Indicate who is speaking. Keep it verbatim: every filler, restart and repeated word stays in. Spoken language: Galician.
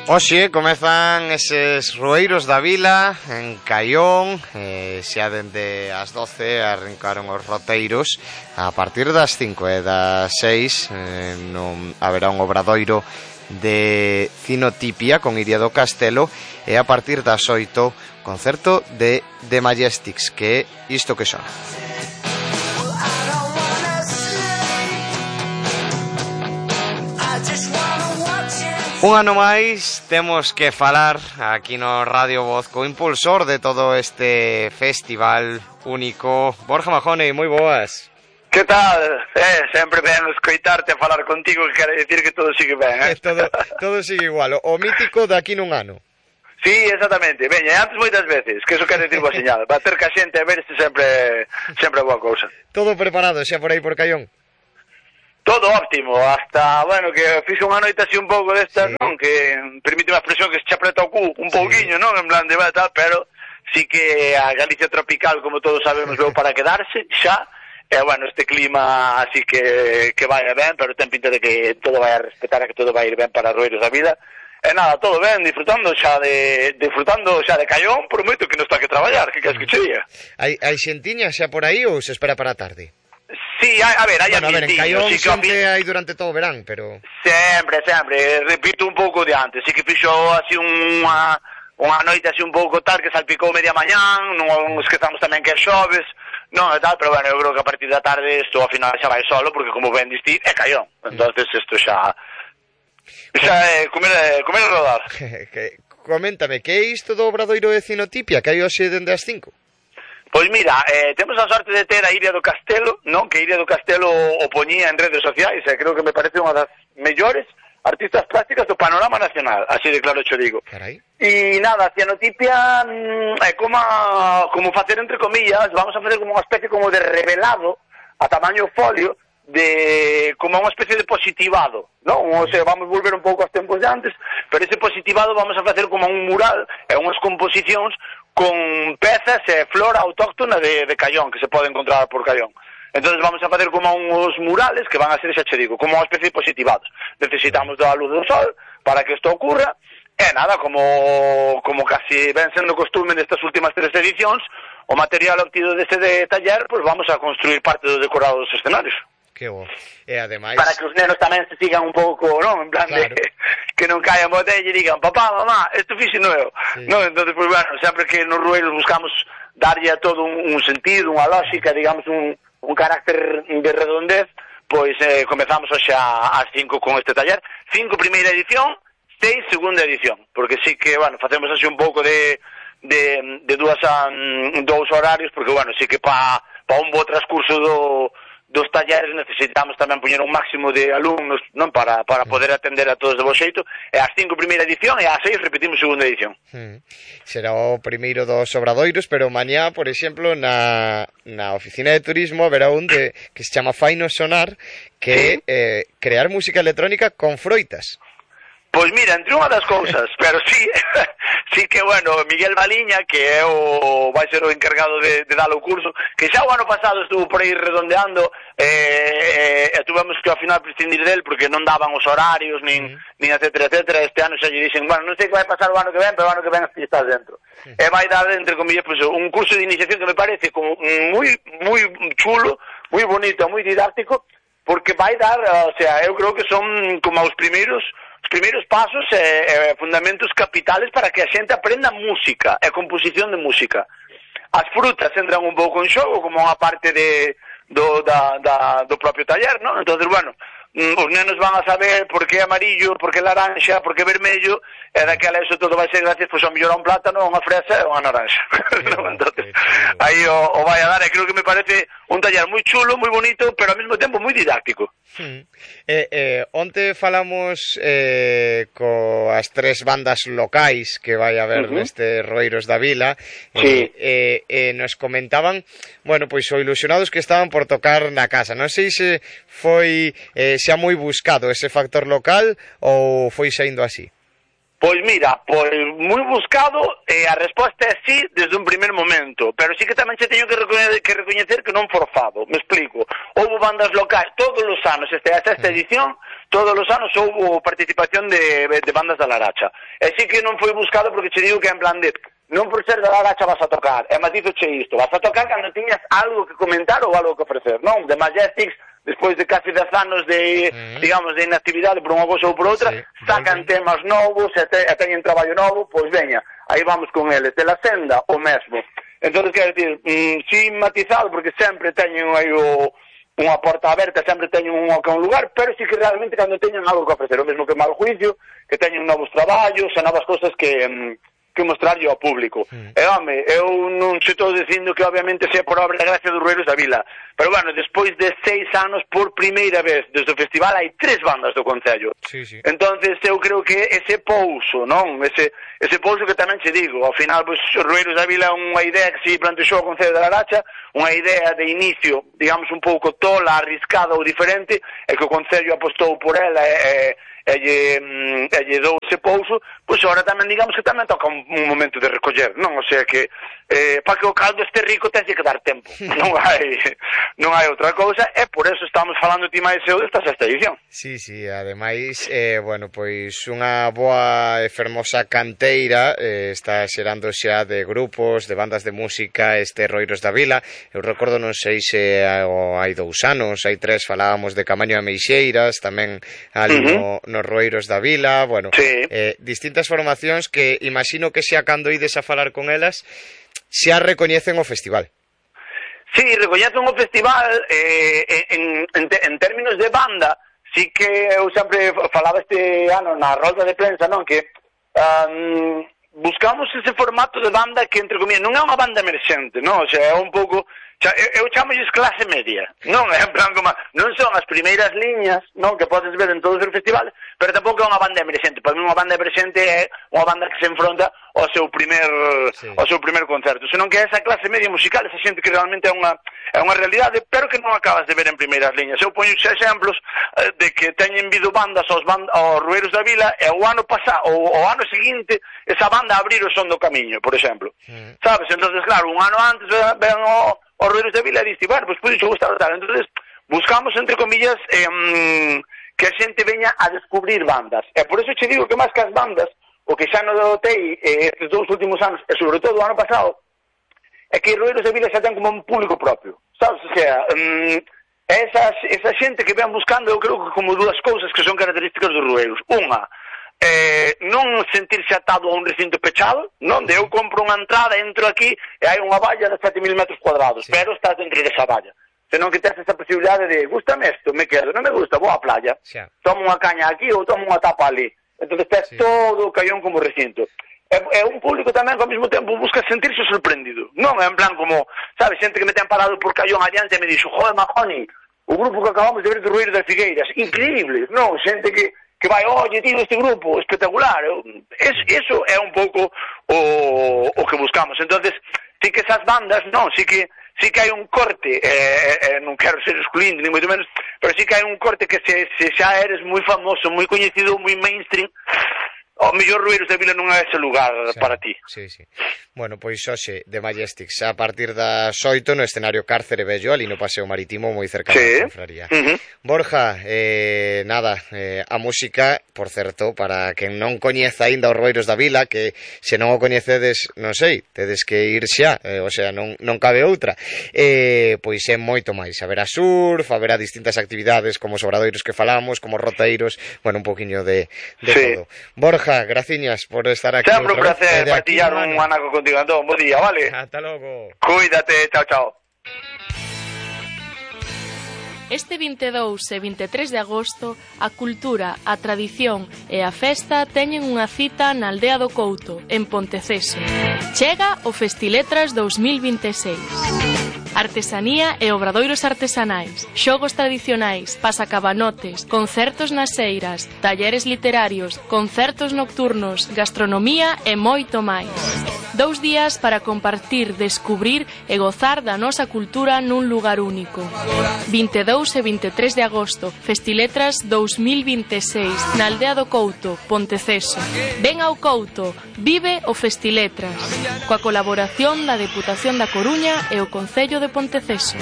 Speaker 1: Oxe, comezan eses Rueiros da Vila en Caión, eh, xa dende as doce arrancaron os roteiros. A partir das cinco e das seis eh, non haberá un obradoiro de Cinotipia con Iria do Castelo, e a partir das oito concerto de The Majestics, que é isto que son. Un ano máis temos que falar aquí no Radio Voz co impulsor de todo este festival único, Borja Majone. Moi boas.
Speaker 2: Que tal? Eh, sempre ben escoitarte a falar contigo, que quere dicir que todo sigue ben, eh?
Speaker 1: todo, todo sigue igual, o mítico de aquí nun ano.
Speaker 2: Sí, exactamente. Veña, antes moitas veces, que eso quere dicir boa señal. Va ter que a xente a ver se sempre sempre boa cousa.
Speaker 1: Todo preparado xa por aí por Caión?
Speaker 2: Todo óptimo, hasta, bueno, que fixe unha noite así un pouco destas, sí, non? Que permite unha expresión que se apreta o cu un pouquiño, sí, non? En plan de va tal, pero sí que a Galicia tropical, como todos sabemos, veo para quedarse, xa. E, bueno, este clima así que, que vai ben, pero ten pinta de que todo vai a respetar, que todo vai ir ben para Rueiros da Vida. E nada, todo ben, disfrutando xa de disfrutando xa de Caión, por moito que non está que traballar, que queres que che diga.
Speaker 1: Hai, hai xentiña xa por aí ou se espera para a tarde?
Speaker 2: Sí, hai, a ver, hai
Speaker 1: bueno, a ver, en Caión
Speaker 2: sí,
Speaker 1: sempre que... hai durante todo o verán, pero...
Speaker 2: Sempre, sempre, repito un pouco de antes, sí que fixo así unha, unha noite así un pouco tal, que salpicou media mañán, non esquezamos tamén que é xoves, non é tal, pero bueno, eu creo que a partir da tarde isto ao final xa vai solo, porque como ben diste, é Caión, entonces isto xa... xa é comer, comer e rodar.
Speaker 1: Coméntame, que é isto do obradoiro de Cinotipia, que hai hoxe dende as cinco?
Speaker 2: Pois mira, eh, temos a sorte de ter a Iria do Castelo, non? Que Iria do Castelo o poñía en redes sociais, e creo que me parece unha das mellores artistas plásticas do panorama nacional, así de claro cho digo.
Speaker 1: Carai.
Speaker 2: E nada, a Cinotipia mm, é como, como facer entre comillas, vamos a facer como unha especie como de revelado a tamaño folio, de como unha especie de positivado, non? O sea, vamos volver un pouco aos tempos de antes, pero ese positivado vamos a facer como un mural e unhas composicións con pezas e flora autóctona de, de Caión, que se pode encontrar por Caión. Entonces vamos a facer como uns murales que van a ser, xa che digo, como unha especie de positivados. Necesitamos da luz do sol para que isto ocurra, e nada, como, como casi ven sendo costume nestas últimas tres edicións, o material obtido deste de taller, pues vamos a construir parte do decorado dos escenarios.
Speaker 1: Que bo. E ademais...
Speaker 2: Para que os nenos tamén se sigan un pouco, non? En plan claro, de que non caian botella e digan, papá, mamá, isto fixe nuevo. Sí. Non? Entonces, pues bueno, sempre que nos Rueiros buscamos darlle a todo un, un sentido, unha lógica, digamos, un, un carácter de redondez, pois eh, comezamos hoxe ás cinco con este taller. Cinco primeira edición, seis segunda edición, porque sí que, bueno, facemos así un pouco de, de, de dúas a, dous horarios, porque, bueno, sí que pa, pa un bo transcurso do... dos talleres necesitamos tamén poñer un máximo de alumnos, non, para, para poder atender a todos de bo xeito, e ás cinco primeira edición e ás seis repetimos segunda edición.
Speaker 1: Hmm. Será o primeiro dos obradoiros, pero mañá, por exemplo, na, na oficina de turismo haberá un de, que se chama Faino Sonar, que é eh, crear música electrónica con froitas.
Speaker 2: Pois mira, entre unha das cousas, pero sí, sí que, bueno, Miguel Baliña, que é o vai ser o encargado de, de dar o curso, que xa o ano pasado estuvo por aí redondeando, e eh, eh, tuvemos que ao final prescindir del porque non daban os horarios, nin, mm. nin etcétera, etcétera. Este ano xa lle dixen, bueno, non sei que vai pasar o ano que ven, pero o ano que ven así estás dentro. Mm. E vai dar, entre comillas, pues, un curso de iniciación que me parece como moi, moi chulo, moi bonito, moi didáctico, porque vai dar, o sea, eu creo que son como os primeiros os primeiros pasos e eh, eh, fundamentos capitales para que a xente aprenda música e composición de música. As frutas entran un pouco en xogo como unha parte de, do, da, da, do propio taller, non? Entonces, bueno, os nenos van a saber por que amarillo, por que laranxa, por que vermello, e daquela eso todo vai ser gracias, pois, ao mellor a un plátano, a unha fresa e a unha naranxa. No, entonces, aí o, o vai a dar, e creo que me parece un taller moi chulo, moi bonito, pero ao mesmo tempo moi didáctico.
Speaker 1: Hmm. Eh, eh, onte falamos eh, coas tres bandas locais que vai haber uh-huh. neste Rueiros da Vila,
Speaker 2: sí.
Speaker 1: eh, eh, eh, nos comentaban, bueno, pois o ilusionados que estaban por tocar na casa. Non sei se foi eh, xa moi buscado ese factor local ou foi saindo así.
Speaker 2: Pois mira, pois moi buscado, e eh, a resposta é sí desde un primer momento, pero sí que tamén se teño que recoñecer que, recoñecer que non forzado, me explico. Houve bandas locais todos os anos, esta é a sexta edición, todos os anos houve participación de, de bandas da Laracha. E sí que non foi buscado porque che digo que en plan de non por ser da Laracha vas a tocar, e matizo che isto, vas a tocar cando tiñas algo que comentar ou algo que ofrecer, non? The Majestics, despois de casi dez anos de, mm. digamos, de inactividade por unha cosa ou por outra, sí, sacan vale. temas novos e, te, e teñen traballo novo, pois veña, aí vamos con eles, de la senda, o mesmo. Entón, quero dicir, mm, sin matizado, porque sempre teñen aí o, unha porta aberta, sempre teñen un, un lugar, pero sí que realmente cando teñen algo que ofrecer, o mesmo que Mal Juicio, que teñen novos traballos e novas cosas que, mm, que mostrarlle ao público. Mm. E, home, eu non se estou dicindo que obviamente sea por obra da gracia dos Rueiros da Vila, pero, bueno, despois de seis anos, por primeira vez desde o festival, hai tres bandas do Concello.
Speaker 1: Sí, sí.
Speaker 2: Entonces, eu creo que ese pouso, non? Ese, ese pouso que tamén che digo, ao final, pois, os Rueiros da Vila é unha idea que se plantexou o Concello da Laracha, unha idea de inicio, digamos, un pouco tola, arriscada ou diferente, e que o Concello apostou por ela e, e, e, e lle dou ese pouso, pois agora tamén, digamos, que tamén toca un, un momento de recoller, non? O sea que, eh, para que o caldo este rico ten que dar tempo, non hai... non hai outra cousa, e por eso estamos falando ti máis eu desta sexta edición.
Speaker 1: Sí, sí, ademais, eh, bueno, pois unha boa e fermosa canteira eh, está xerando xa de grupos, de bandas de música, este Rueiros da Vila. Eu recordo, non sei se hai dous anos, hai tres, falábamos de Camaño e Meixeiras, tamén ali uh -huh. no, nos Rueiros da Vila, bueno, sí. eh, distintas formacións que imagino que xa cando ides a falar con elas, xa recoñecen o festival.
Speaker 2: Sí, recoñecen o festival eh, en, en, en términos de banda, sí que eu sempre falaba este ano na rolda de prensa, non, que um, buscamos ese formato de banda que, entre comillas, non é unha banda emerxente, non, o sea, é un pouco... Xa, eu, eu chamolles clase media, non é en plan como... Non son as primeiras liñas, non, que podes ver en todos os festivales, pero tampouco é unha banda emerxente. Para mí unha banda emerxente é unha banda que se enfronta ao seu primer sí. ao seu primer concerto, senón que é esa clase media musical, esa xente que realmente é unha é unha realidade, pero que non acabas de ver en primeiras liñas. Eu poño exemplos eh, de que teñen vido bandas aos, band aos Rueiros da Vila e o ano pasado, o, o ano seguinte, esa banda abrir o Son do Camiño, por exemplo. Mm. Sabes? Entonces, claro, un ano antes ven o os Rueiros da Vila e diste, bueno, pois pude gustar tal. Entonces, buscamos, entre comillas, eh, que a xente veña a descubrir bandas. E por eso che digo que máis que as bandas, o que xa non notei eh, estes dous últimos anos, e sobre todo o ano pasado, é que os Rueiros da Vila xa ten como un público propio. Sabes? O sea, um, esa, esa xente que ven buscando, eu creo que como dúas cousas que son características dos Rueiros. Unha, eh, non sentirse atado a un recinto pechado, non? De eu compro unha entrada, entro aquí e hai unha valla de sete mil metros cuadrados, sí. Pero estás dentro desa valla. Senón que tens esa posibilidade de, gustame isto, me quedo, non me gusta, vou á playa, sí. Tomo unha caña aquí ou tomo unha tapa ali. Entón tens sí. Todo o caión como recinto. É, é un público tamén que ao mesmo tempo busca sentirse sorprendido. Non é en plan como, sabes, xente que me ten parado por caión adiante e me dixo, joder, Mahoney, o grupo que acabamos de ver de Rueiros das Figueiras, increíble, non? Xente que que vai, oye, tío, este grupo, espectacular. Es, eso é un pouco o, o que buscamos. Entonces, sí que esas bandas, non, sí que sí que hai un corte, eh, eh, non quero ser excluinte, ni moito menos, pero sí que hai un corte que se, se xa eres moi famoso, moi coñecido, moi mainstream, o mellor Rueiros da Vila non é ese lugar sí, para ti.
Speaker 1: Sí, sí. Bueno, pois hoxe, de Majestics, a partir das oito no escenario Cárcere Vello, ali no Paseo Marítimo, moi cerca sí. da Confraría. Uh -huh. Borja, eh, nada, eh, a música, por certo, para quen non coñeza aínda os Rueiros da Vila, que se non o coñecedes, non sei, tedes que ir xa, eh, o sea, non, non cabe outra. Eh, pois é moito máis. Haberá surf, haberá distintas actividades, como os obradoiros que falamos, como roteiros, bueno, un poquinho de, de sí. todo. Borja, graciñas por estar aquí.
Speaker 2: Sempre un placer partillar un anaco contigo, Antón. Bo día, vale?
Speaker 1: Hasta logo.
Speaker 2: Cuídate, chao, chao.
Speaker 3: Este vinte e dous e vinte e tres de agosto, a cultura, a tradición e a festa teñen unha cita na Aldea do Couto, en Ponteceso. Chega o Festiletras dous mil vinte e seis. Artesanía e obradoiros artesanais, xogos tradicionais, pasacabanotes, concertos nas eiras, talleres literarios, concertos nocturnos, gastronomía e moito máis. Dous días para compartir, descubrir e gozar da nosa cultura nun lugar único. vinte e dous e vinte e tres de agosto, Festiletras dous mil vinte e seis, na Aldea do Couto, Ponteceso. Ven ao Couto, vive o Festiletras, coa colaboración da Deputación da Coruña e o Concello de Ponteceso.